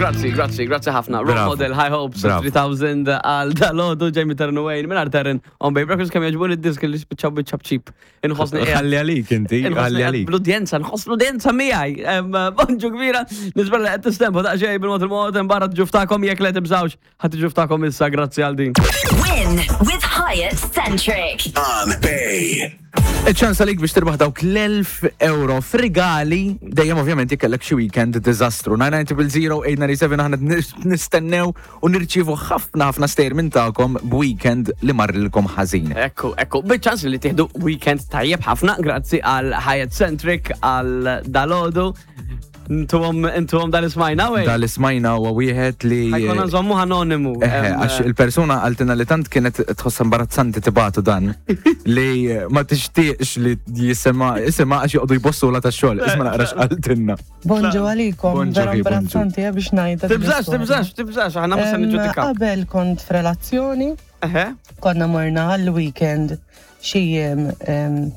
Grazzi, grazzi, grazzi ħafna. Role Bravo. model, High Hopes, Bravo. 3000 għal dalodu, Jamie Terran Wayne, minn Terran, on Bay Breakfast, kemm jogħġbuni d-disk li spiċċaw biċ-ċapċip. Inħossni qiegħed- Ħalli għalik inti, Inħossni ħalli qiegħed għalik. Bl-udjenza, nħoss l-udjenza miegħi. Em, Bonġu kbira, nispera li qed tistempu daqsxejn bil-mod il-mod barra ġuftakom jekk le tibżawx, ħadd ġuftakom issa grazzi għal din. Win with Hyatt Centric. On Bay. Iċ-ċans għalik biex tirbaħ dawk l-1000 euro f'rigali, dejjem ovvjament jekk xi weekend diżastru. 990 aħna nistennew u nirċievu ħafna ħafna stejjer minn tagħkom b'weekend li marrilkom ħażin. Ekku, ekku, biċ-ċans li tieħdu weekend tajjeb ħafna, grazzi għal Hyatt Centric, għal dalodu. Intuhom, intuhom dal-ismajna, wej. Dal-ismajna huwa wieħed li Ħa jkollna nżommu anonimu. Eħe, għax il-persuna qaltilna li tant kienet tħoss imbarazzanti tibagħtu dan li ma tixtieqx li jisema isema għax joqogħdu jbossu la tax-xogħol. Isma' naqra x'qaltilna. Bonġu għalikom, Bonġu, vera bonġu. imbarazzanti eh, biex ngħidha. din Tibżax, l-istorja. tibżax, tibżax, aħna ma se niġġudikaw. Qabel kont f'relazzjoni, Eħe. konna morna għall-weekend xi jiem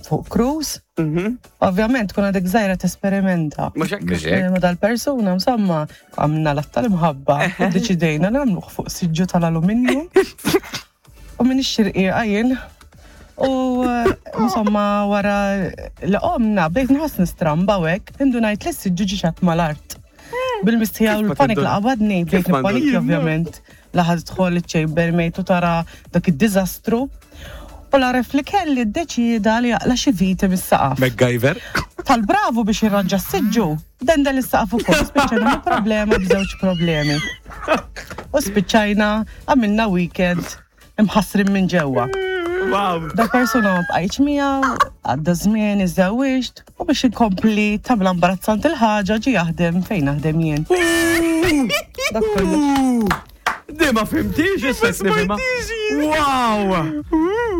fuq cruise. Ovvjament kun għadek żgħira tesperimenta. Mhux hekk. Mhux hekk. Ma dal-persuna, insomma, għamna l tal-imħabba, u deċidejna nagħmluh fuq siġġu tal-aluminju. U minn ix-xirqiqa jien. U insomma, wara li qomna, bdejt nħoss nistramba u hekk, indunajt li s-siġġu ġie xatt mal-art. Bil-mistħija u ma l-panik tindun- li qabadni, bdejt Kif ma nippanikja ndun- ovvjament. Laħad tħol iċ-chambermaid u tara dak id-diżastru. U l-għaref li kelli ddeċieda li jaqla' xi viti mis-saqaf. MacGyver. Tal-bravu biex jirranġa s-siġġu, dendel is-saqaf ukoll, spiċċajna bi problema b'żewġ problemi. U spiċċajna għamilna weekend imħassrin minn ġewwa. Wow. Da persuna ma bqajtx miegħu, għadda żmien, iżżewwiġt, u biex inkompli tagħmel imbarazzanti l-ħaġa ġie jaħdem fejn naħdem jien. Dak kollox. Di ma fhimtix, issa nifhimha. Wow!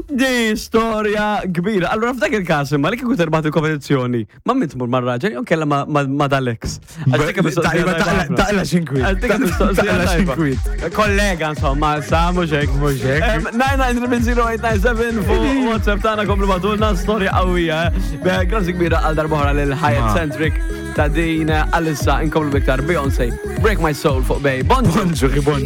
Di storja kbira. Allora f'dak il-każ imma li kieku terbaħ il-kompetizzjoni, ma min tmur mar-raġel jew kella ma dal-ex. Għax dik mistoqsija Taqla tajba ħafna. taqla x'inkwiet. Għax dik mistoqsija Taqla tajba. x'inkwiet. Kollega, insomma, sa mhux hekk. Mhux hekk. 9900897 fuq WhatsApp tagħna komplu bagħtulna storja qawwija. eh. Grazzi kbira għal darb'oħra lil Hyatt Ma. Centric ta' din għalissa inkomplu biktar Beyoncé. Break My Soul fuq Bay. Bonġu. Bonġu, bonġu.